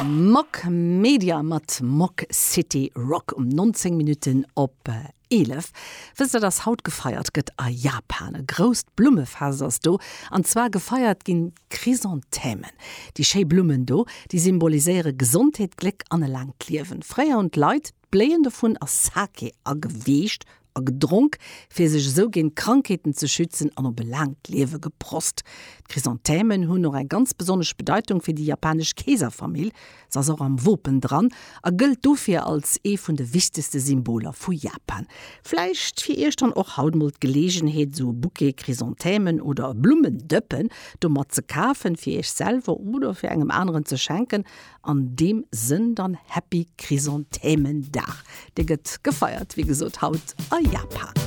Mock Media mat Mock City Rock um 19 Minutten op 11. Wësst der, dass haut gefeiert gëtt a Japan? E grousst Blummefest ass do, an zwar gefeiert ginn d'Chrysanthemen. Déi schéi Blummen do, déi symboliséiere Gesondheet, Gléck an e laangt Liewen. Fréier hunn d'Leit d'Bléien dovun a Sake ageweecht a gedronk, fir sech esou géint Krankheeten ze schützen an op e laangt Liewe geprost. D'Chrysanthemen hunn och eng ganz besonnesch Bedeitung fir déi japanesch Keeserfamill, se ass och am Wopen dran a gëllt dofir als ee vun de wichtegste Symboler vu Japan. Vläicht fir iech dann och haut mol d'Geleegenheet esou e Bouquet Chrysanthemen oder e Blummendëppen domat ze kafen, fir iech selwer oder fir engem aneren ze schenken. An deem Sënn dann Happy Chrysanthemendag. Dee gëtt gefeiert, wéi gesot, haut a Japan.